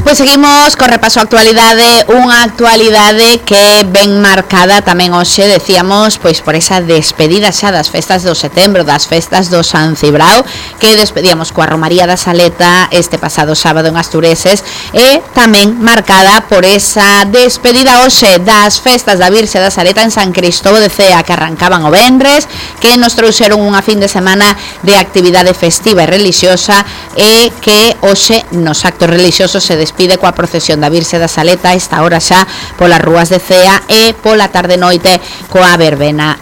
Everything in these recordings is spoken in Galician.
Pois seguimos co repaso a actualidade, unha actualidade que ven marcada tamén hoxe, decíamos, pois por esa despedida xa das festas do setembro, das festas do San Cibrao, que despedíamos coa Romaría da Saleta este pasado sábado en Astureses, e tamén marcada por esa despedida hoxe das festas da Virxe da Saleta en San Cristóbal de Cea, que arrancaban o venres, que nos trouxeron unha fin de semana de actividade festiva e religiosa, e que hoxe nos actos religiosos se despide coa procesión da Virxe da Saleta, esta hora xa polas rúas de Cea, e pola tarde noite coa verbena.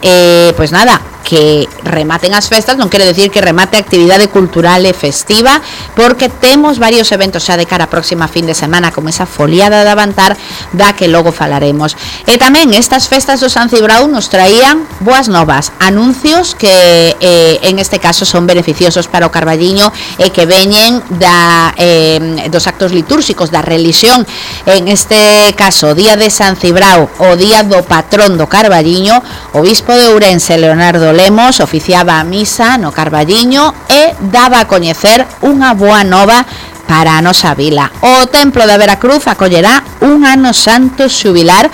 Pois nada, que rematen as festas non quere decir que remate a actividade cultural e festiva, porque temos varios eventos xa de cara a próxima fin de semana, como esa foliada de Avantar, da que logo falaremos. E tamén estas festas do San Cibrao nos traían boas novas, anuncios que en este caso son beneficiosos para o Carballiño e que veñen dos actos litúrxicos da religión. En este caso, o día de San Cibrao, o día do patrón do Carballiño, o bispo de Ourense, Leonardo Lemos, oficiaba a misa no Carballiño e daba a coñecer unha boa nova para a nosa vila. O Templo da Veracruz acollerá un ano santo xubilar,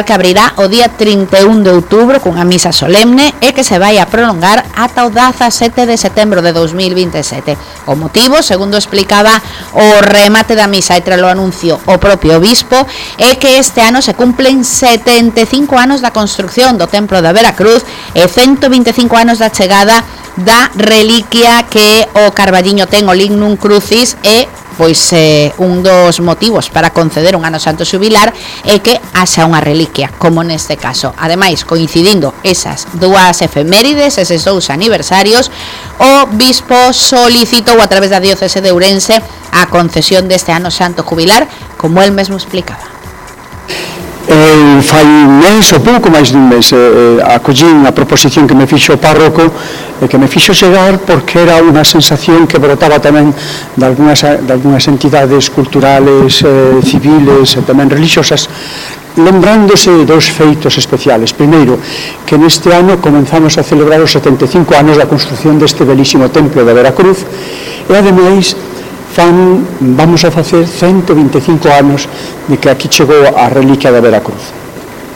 que abrirá o día 31 de outubro cunha misa solemne e que se vai a prolongar ata o 17 de setembro de 2027. O motivo, segundo explicaba o remate da misa e tras o anuncio o propio obispo, é que este ano se cumplen 75 anos da construcción do Templo da Veracruz e 125 anos da chegada da reliquia que o Carballiño ten, o Lignum Crucis, e pois un dos motivos para conceder un ano santo xubilar é que haxa unha reliquia, como neste caso. Ademais, coincidindo esas dúas efemérides, eses dous aniversarios, o bispo solicitou a través da diocese de Ourense a concesión deste ano santo jubilar, como el mesmo explicaba. Fai un mes ou pouco máis dun mes acollín a proposición que me fixo o párroco e que me fixo chegar, porque era unha sensación que brotaba tamén de algunhas entidades culturales, civiles e tamén religiosas, lembrándose dos feitos especiales. Primeiro, que neste ano comenzamos a celebrar os 75 anos da construción deste belísimo templo da Veracruz, e ademais vamos a facer 125 anos de que aquí chegou a reliquia da Veracruz.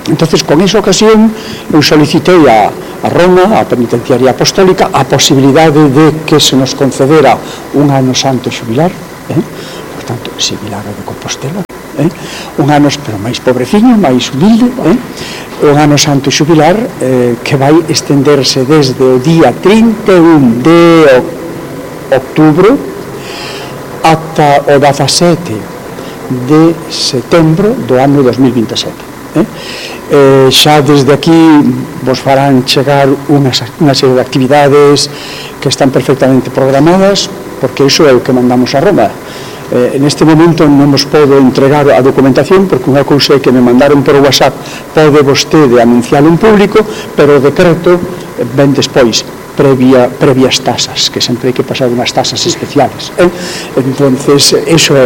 Entonces, con esa ocasión, eu solicitei a Roma, a Penitenciaria Apostólica, a posibilidade de que se nos concedera un ano santo xubilar, por tanto, similar ao de Compostela, un ano, pero máis pobreciño, máis humilde, un ano santo xubilar que vai estenderse desde o día 31 de outubro ata o 17 de setembro do ano 2027. Xa desde aquí vos farán chegar unha serie de actividades que están perfectamente programadas, porque iso é o que mandamos a Roma. Neste momento non vos podo entregar a documentación, porque unha cousa é que me mandaron por WhatsApp, pode vostede anuncialo en público, pero o decreto ven despois, previas tasas, que sempre hai que pasar unhas tasas especiales. Entonces, eso é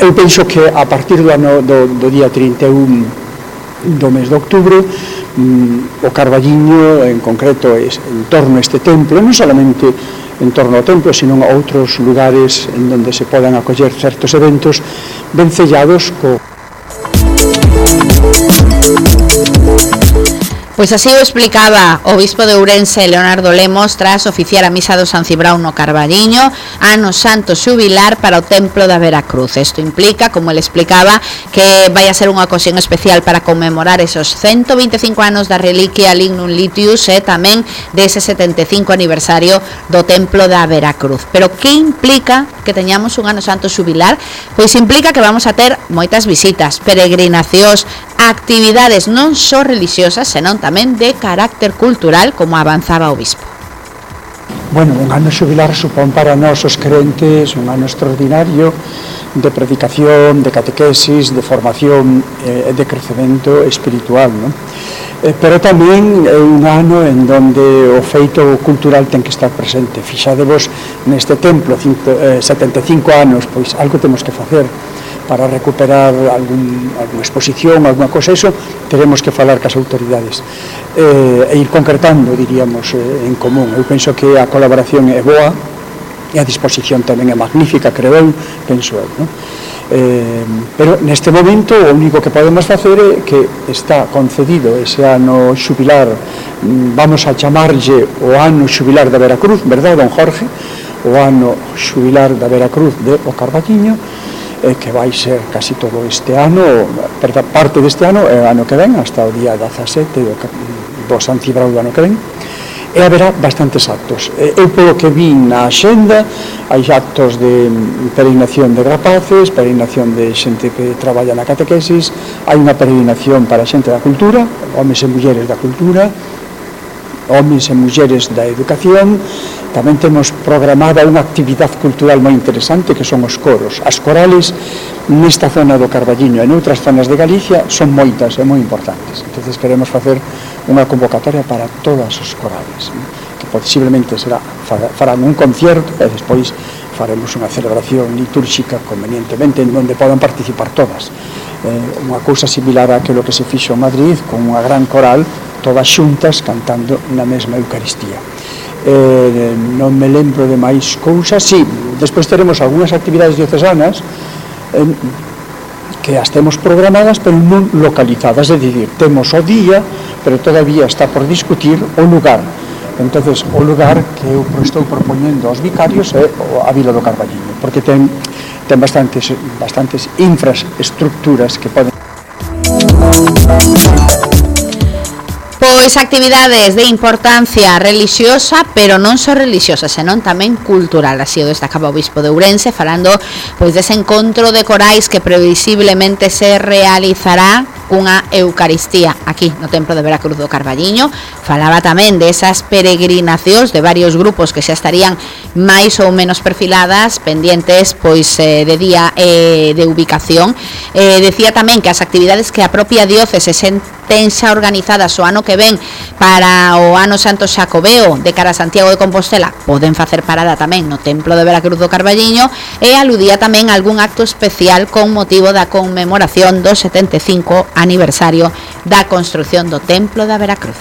eu penso que a partir do día 31 do mes de outubro, o Carballiño, en concreto, en torno a este templo, non solamente en torno ao templo, sino a outros lugares en donde se podan acoller certos eventos, ben sellados Pois así o explicaba o bispo de Ourense, Leonardo Lemos, tras oficiar a misa do San Cibrao no Carballiño, ano santo xubilar para o Templo da Veracruz. Isto implica, como ele explicaba, que vai a ser unha ocasión especial para conmemorar esos 125 anos da reliquia Lignum Litius e tamén dese 75 aniversario do Templo da Veracruz. Pero que implica que teñamos un ano santo xubilar? Pois implica que vamos a ter moitas visitas, peregrinacións, actividades non só religiosas, senón tamén de carácter cultural, como avanzaba o bispo. Bueno, un ano xubilar supón para nós os crentes un ano extraordinario de predicación, de catequesis, de formación e de crecemento espiritual, non? Pero tamén é un ano en donde o feito cultural ten que estar presente. Fixadevos neste templo, 75 anos, pois algo temos que facer para recuperar alguna exposición, alguna cosa, eso teremos que falar cas autoridades e ir concretando, diríamos, en común. Eu penso que a colaboración é boa, e a disposición tamén é magnífica, creo eu, penso eu, non? Pero neste momento o único que podemos facer é que está concedido ese ano xubilar, vamos a chamarlle o ano xubilar da Veracruz, verdade, don Jorge? O ano xubilar da Veracruz de O Carballiño, que vai ser casi todo este ano, parte deste ano e o ano que ven, hasta o día 17 do San Cibrao do ano que ven, e haberá bastantes actos. Eu polo que vi na axenda, hai actos de peregrinación de rapaces, peregrinación de xente que traballa na catequesis, hai unha peregrinación para xente da cultura, homes e mulleres da cultura, homes e mulleres da educación. Tamén temos programada unha actividade cultural moi interesante que son os coros. As corales nesta zona do Carballiño e noutras zonas de Galicia son moitas e moi importantes. Entón queremos facer unha convocatoria para todas os corales, que posiblemente farán un concierto e despois faremos unha celebración litúrxica convenientemente en onde podan participar todas. Unha cousa similar a aquilo que se fixo en Madrid con unha gran coral, todas xuntas cantando na mesma Eucaristía. Non me lembro de máis cousas. Sí, despois teremos algunhas actividades diocesanas que as temos programadas pero non localizadas, é dicir, temos o día pero todavía está por discutir o lugar. Entonces o lugar que eu estou propoñendo aos vicarios é a Vila do Carballiño, porque ten bastantes infraestructuras que poden. Pois actividades de importancia religiosa, pero non só religiosa, senón tamén cultural. Así o destacaba o bispo de Ourense, falando pois dese encontro de corais que previsiblemente se realizará cunha Eucaristía aquí no Templo de Veracruz do Carballiño. Falaba tamén desas peregrinacións de varios grupos que xa estarían máis ou menos perfiladas, pendientes pois de día de ubicación. Decía tamén que as actividades que a propia diócese ten xa organizadas o ano que ven para o ano Santo Xacobeo de cara a Santiago de Compostela poden facer parada tamén no Templo de Veracruz do Carballiño, e aludía tamén a algún acto especial con motivo da conmemoración do 75 aniversario da construción do Templo da Veracruz.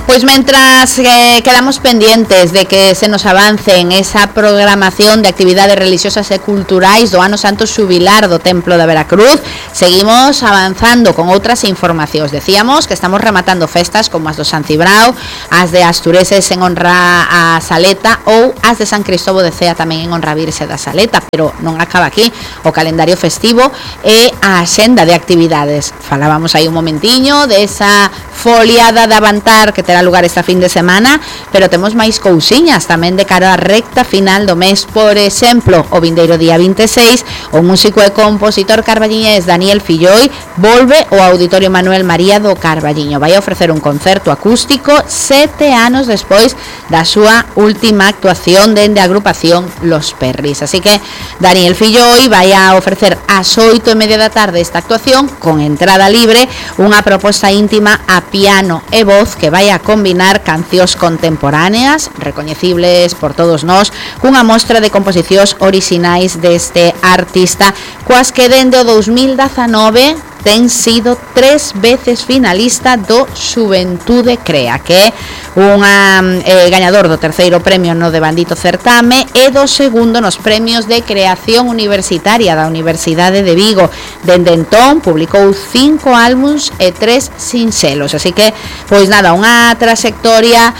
Pois mentras quedamos pendientes de que se nos avance en esa programación de actividades religiosas e culturais do ano Santo Xubilar do Templo da Veracruz, seguimos avanzando con outras informacións. Decíamos que estamos rematando festas como as do San Cibrao, as de Astureses en honra a Saleta ou as de San Cristóbal de Cea tamén en honra a Virxe da Saleta, pero non acaba aquí o calendario festivo e a axenda de actividades. Falábamos aí un momentiño desa foliada de Avantar que terá lugar esta fin de semana, pero temos máis cousiñas tamén de cara á recta final do mes. Por exemplo, o vindeiro día 26, o músico e compositor carballiñés Daniel Filloi volve ao Auditorio Manuel María do Carballiño. Vai a ofrecer un concerto acústico 7 anos despois da súa última actuación dende a agrupación Los Perris. Así que Daniel Filloi vai a ofrecer ás 8:30 da tarde esta actuación con entrada libre, unha proposta íntima a piano e voz que vai a combinar cancións contemporáneas recoñecibles por todos nós cunha mostra de composicións orixinais deste artista, coas que dende o 2019 ten sido 3 veces finalista do Xuventude Crea, que é unha gañador do terceiro premio no Devandito Certame e do segundo nos premios de creación universitaria da Universidade de Vigo. Dende entón publicou 5 álbums e 3 sinxelos, así que pois nada, unha trayectoria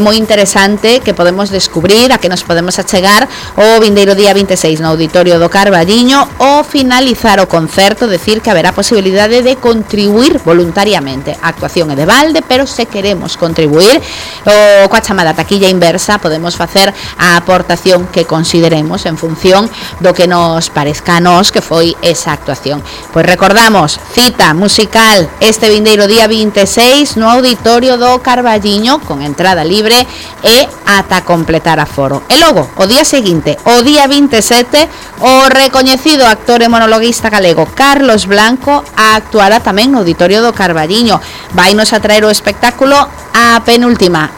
moi interesante que podemos descubrir, a que nos podemos achegar o vindeiro día 26 no Auditorio do Carballiño. O finalizar o concerto, decir que haberá posibilidade de contribuir voluntariamente. A actuación é de balde, pero se queremos contribuir coa chamada taquilla inversa, podemos facer a aportación que consideremos en función do que nos parezca a nós que foi esa actuación. Pois recordamos, cita musical este vindeiro día 26 no Auditorio do Carballiño con entrada libre e ata completar aforo. E logo, o día seguinte, o día 27, o recoñecido actor e monologuista galego Carlos Blanco actuará tamén no Auditorio do Carballiño. Vainos a traer o espectáculo a penúltima,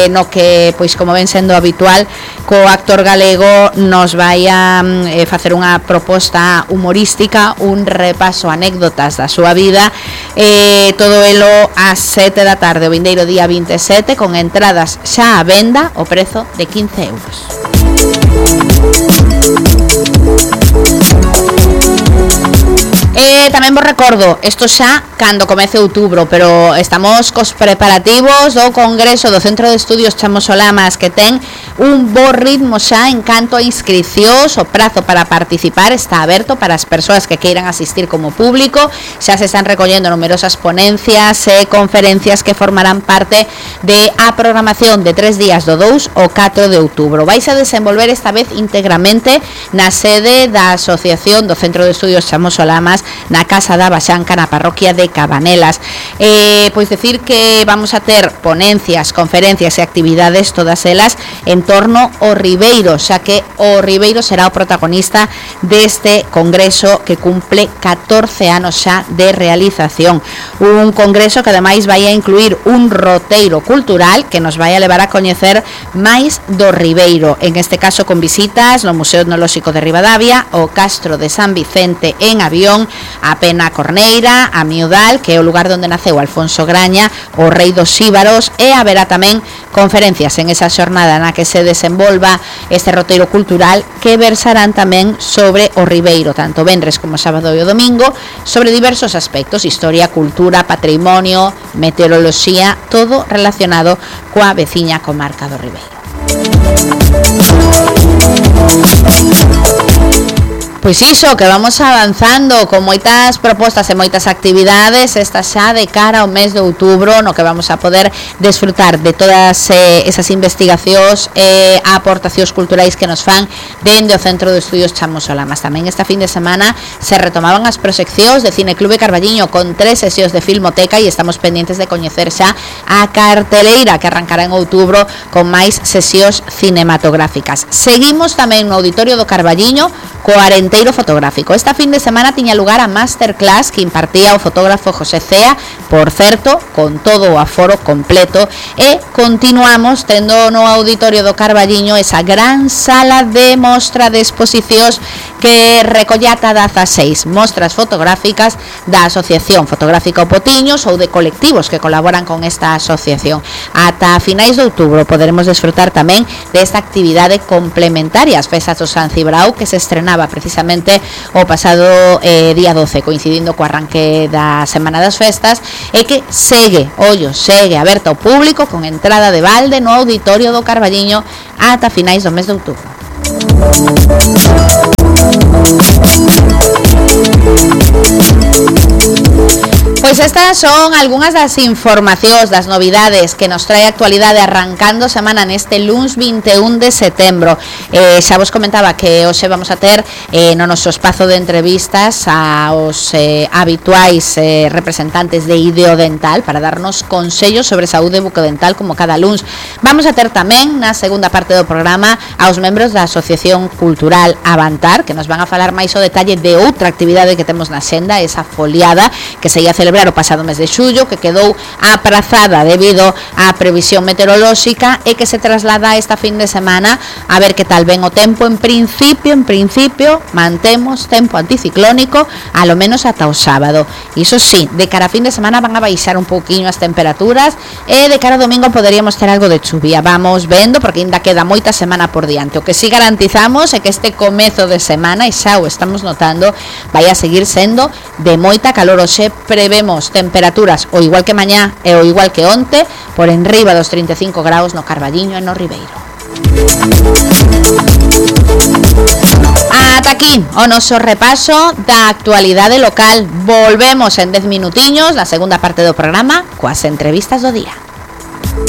no que, pois como ven sendo habitual, co actor galego nos vai a facer unha proposta humorística, un repaso a anécdotas da súa vida, todo elo ás 7 da tarde, o vindeiro día 27, con entradas xa á venda, o prezo de 15 euros. Tamén vos recordo, isto xa cando comece outubro, pero estamos cos preparativos do Congreso do Centro de Estudios Chamos Solamas, que ten un bo ritmo xa en canto a inscricións. O prazo para participar está aberto para as persoas que queiran asistir como público. Xa se están recollendo numerosas ponencias e conferencias que formarán parte de a programación de 3 días do 2 ao 4 de outubro. Vais a desenvolver esta vez íntegramente na sede da Asociación do Centro de Estudios Chamos Solamas, na Casa da Baxanca, na parroquia de Cabanelas. Pois decir que vamos a ter ponencias, conferencias e actividades, todas elas en torno ao Ribeiro, xa que o Ribeiro será o protagonista deste congreso que cumple 14 anos xa de realización. Un congreso que ademais vai a incluir un roteiro cultural que nos vai a levar a coñecer máis do Ribeiro, en este caso con visitas no Museo Etnolóxico de Ribadavia, o Castro de San Vicente en avión, a Pena Corneira, a Miudal, que é o lugar onde naceu Alfonso Graña, o rei dos Xíbaros, e haberá tamén conferencias en esa xornada na que se desenvolva este roteiro cultural, que versarán tamén sobre o Ribeiro, tanto venres como sábado e o domingo, sobre diversos aspectos: historia, cultura, patrimonio, meteoroloxía, todo relacionado coa veciña comarca do Ribeiro. Pois iso, que vamos avanzando con moitas propostas e moitas actividades, esta xa de cara ao mes de outubro, no que vamos a poder desfrutar de todas esas investigacións e aportacións culturais que nos fan dende o Centro de Estudios Chamos Solamas. Tamén esta fin de semana se retomaban as proxeccións de Cine Clube Carballiño con 3 sesións de Filmoteca, e estamos pendientes de coñecer xa a carteleira que arrancará en outubro con máis sesións cinematográficas. Seguimos tamén no Auditorio do Carballiño co Arenteiro Fotográfico. Esta fin de semana tiña lugar a masterclass que impartía o fotógrafo José Cea, por certo, con todo o aforo completo, e continuamos tendo no Auditorio do Carballiño esa gran sala de mostra de exposicións que recolle ata 16 mostras fotográficas da Asociación Fotográfica O Potiños ou de colectivos que colaboran con esta asociación. Ata finais de outubro poderemos desfrutar tamén desta actividade complementaria ás festas do San Cibrao, que se estrenaba precisamente o pasado día 12, coincidindo co arranque da Semana das Festas, e que segue aberta ao público con entrada de balde no Auditorio do Carballiño ata finais do mes de outubro. Pois estas son algunhas das informacións, das novidades que nos trae a actualidade arrancando semana neste luns 21 de setembro. Xa vos comentaba que hoxe vamos a ter no noso espazo de entrevistas aos habituais representantes de Ideodental para darnos consellos sobre saúde bucodental como cada luns. Vamos a ter tamén na segunda parte do programa aos membros da Asociación Cultural Avantar, que nos van a falar máis o detalle de outra actividade que temos na xenda, esa foliada que se ia celebrar o pasado mes de xullo, que quedou aprazada debido á previsión meteorolóxica e que se traslada esta fin de semana. A ver que tal ven o tempo. En principio mantemos tempo anticiclónico alo menos ata o sábado. Iso sí, de cara a fin de semana van a baixar un pouquiño as temperaturas e de cara ao domingo poderíamos ter algo de chuvia. Vamos vendo, porque ainda queda moita semana por diante. O que sí garantizamos é que este comezo de semana, e xa o estamos notando, vai a seguir sendo de moita calor. Hoxe prevemos temperaturas o igual que mañá e o igual que onte, por enriba dos 35 graus no Carballiño e no Ribeiro. Ata aquí o noso repaso da actualidade local. Volvemos en 10 minutiños na segunda parte do programa coas entrevistas do día.